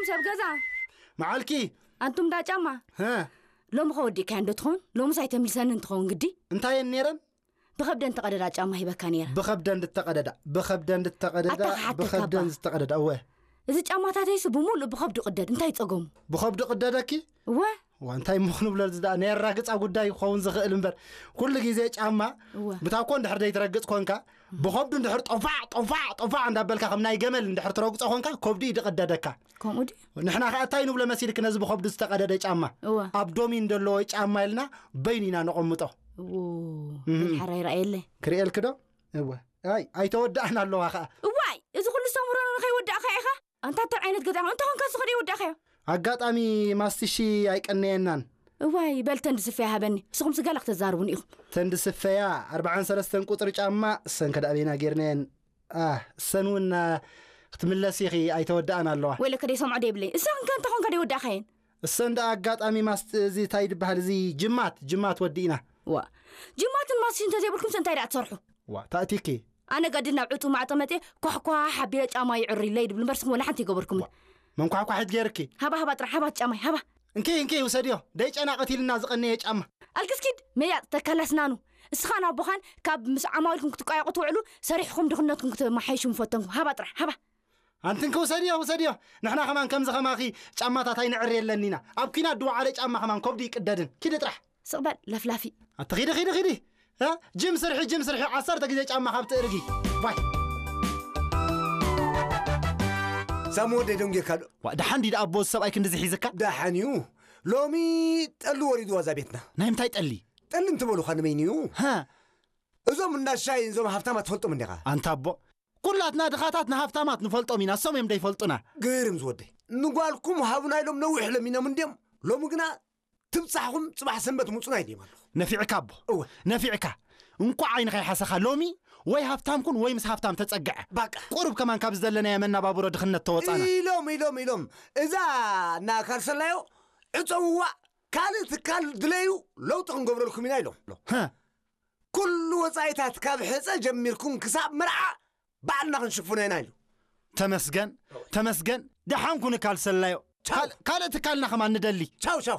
ሰብ ገዛ። መዓልኪ። ኣንቱም ዳ ጫማ። ሀ። ሎሚ ከወዲእካዮ እንዶ ትኸውን? ሎምስ ኣይተምልሰኒ እንትኸውን ግዲ። እንታይ እየን ነይረን? ብኸብደን ተቐደዳ ጫማ ሂበካ ነይረ። ብኸብደን ዝተቐደዳ። ብኸብደን ዝተቐደዳ። ኣታ ክሓተካ ብኸብደን እባ። ዝተቐደዳ። እወ። እዚ ጫማታተይስ ብምሉእ ብኸብዱ ቅደድ፣ እንታይ ጸገሙ? ብኸብዱ ቅደደኪ? እወ። ዋ፣ እንታይ ምኹን ብሎ ዝዳ ናይ ኣራግጻ ጉዳይ ክኸውን ዝኽእል እምበር፣ ኩሉ ግዜ ጫማ እወ። ብታኮ እንድሕር ዘይትረግጽ ኮንካ፣ ብኸብዱ እንድሕር ጦፋዕ ጦፋዕ ጦፋዕ እንዳበልካ ከም ናይ ገመል እንድሕር ትረግጾ ኮንካ፣ ከብዱ እዩ ዝቕደደካ። ከምኡ ድዩ? ንሕና ከኣ እንታይ ንብሎ መሲልክ ነዚ ብኸብዱ ዝተቐደደ ጫማ? እወ። ኣብዶሚን ዘለዎ ጫማ ኢልና በይኑ ኢና ነቐምጦ። እዎ። እም። ሓራይ ረኣየለ። ክርእየልክ ዶ? እወ። ኣይ ኣይተወዳእና ኣለዋ ከኣ። እዋይ፣ እዚ ኩሉ ሰሙረኖ ንኸይወዳእካ ኢኻ? ኣንታ እንታይ ዓይነት ገዛ ኢኻ? እንተ ኾንካ ስኸደ ይወዳእካዮ። ኣጋጣሚ ማስትሺ ኣይቀነየናን። እዋይ፣ በል ተንዲ ስፈያ ሃበኒ። ንስኹም ስጋላ ክትዛርቡኒ ኢኹም። ተንዲ ስፈያ ኣርብዓን ሰለስተን ቁጽሪ ጫማ፣ እሰን ከዳበይና ጌርናየን። ኣህ፣ እሰን እውን፣ አ፣ ክትምለስ ኢኺ፣ ኣይተወዳእን ኣለዋ። ወይለከ ደይ ሰምዖ ደይብለይ። እሰን ከ እንተ ኾንካ ደይወዳእካየን። እሰን ደኣ ኣጋጣሚ ማስት-፣ እዚ እንታይ ይበሃል፣ እዚ ጅማት፣ ጅማት ወዲእና። ዋ፣ ጅማትን ማስትሽን እንተዘይብልኩምስ እንታይ ደኣ ትሰርሑ? ዋ፣ ታእቲኪ። ኣነ ገድል ናብ ዕጹ ማዕጾ መጽየ ኳሕኳሕ ኣቢለ ጫማ ይዕሪ ኢለይ ድብል እምበር ንስኹም ወላ ሓንቲ ኣይገበርኩምን። መንኳሕኳሒት ገይርኪ። ሃባ፣ ሃባ ጥራሕ፣ ሃባ እቲ ጫማይ፣ ሃባ። እንኪ፣ እንኪ፣ ውሰድዮ። ደይ ጨና ቀቲልና ዝቐነየ ጫማ። ኣልክስኪድ፣ መያጥ ተካል ኣስናኑ። እስኻን ኣቦኻን ካብ ምስ ዓማዊልኩም ክትቋየቑ ትውዕሉ፣ ሰሪሕኹም ድኽነትኩም ክትመሓይሹ ምፈተንኩም። ሃባ ጥራሕ፣ ሃባ። ኣንቲ እንኪ፣ ውሰድዮ፣ ውሰድዮ። ንሕና ከማን ከምዚ ከማኺ ጫማታት ኣይንዕሪ የለኒና። ኣብ ኲናት ድወዓለ ጫማ ከማን ከብዱ ይቅደድን። ኪዲ ጥራሕ። ስቕ በል ለፍላፊ። ኣቲ ኺዲ፣ ኺዲ፣ ኺዲ። እ? ጅም ስርሒ፣ ጅም ስርሒ። ዓሰርተ ግዜ ጫማ ካብ ትእርጊ። ዋይ። ሳሙ ወደይ ደንጊርካ ዶ? ዋ፣ ደሓን ድዩ ደኣ ኣቦ፣ እዚ ሰብኣይ ክንድዚ ሒዝካ? ደሓን እዩ። ሎሚ ጠሊ ወሪድዋ እዛ ቤትና። ናይ ምንታይ ጠሊ? ጠሊ እንትበሉኻ ንመይን እዩ? ሃ? እዞም እንዳ ሻይ፣ እዞም ሃብታማት ትፈልጦም እንዲኻ? ኣንታ ኣቦ፣ ኩላትና ድኻታት ንሃብታማት ንፈልጦም ኢና፣ እሶም እዮም ደይፈልጡና። ግርም ዝወደይ። ንጓልኩም ሃቡና ኢሎም ነዊሕ ለሚኖም እንድዮም። ሎሚ ግና ትብጻሕኹም ጽባሕ ሰንበት ምጹና ኢልዮም ኣለኹ። ነፊዕካ ኣቦ። እወ። ነፊዕካ። እንቋዕ ዓይንኻ ይሓሰኻ። ሎሚ ወይ ሃብታም ኩን ወይ ምስ ሃብታም ተጸግዐ። ባቃ። ቁሩብ ከማን ካብ ዝደለናዮ መናባብሮ ድኽነት ተወጻና። ኢሎም፣ ኢሎም፣ ኢሎም። እዛ እና ካልሰላዮ ዕጸውዋ፣ ካልእ ትካል ድለዩ፣ ለውጢ ክንገብረልኩም ኢና ኢሎም። ሃ። ኩሉ ወጻኢታት ካብ ሕጸ ጀሚርኩም ክሳብ መርዓ ባዕልና ክንሽፍኖ ኢና ኢሉ። ተመስገን፣ ተመስገን። ደሓን ኩን ካልሰላዮ። ቻው። ካል-፣ ካልእ ትካልና ከማን ንደሊ። ቻው፣ ቻው።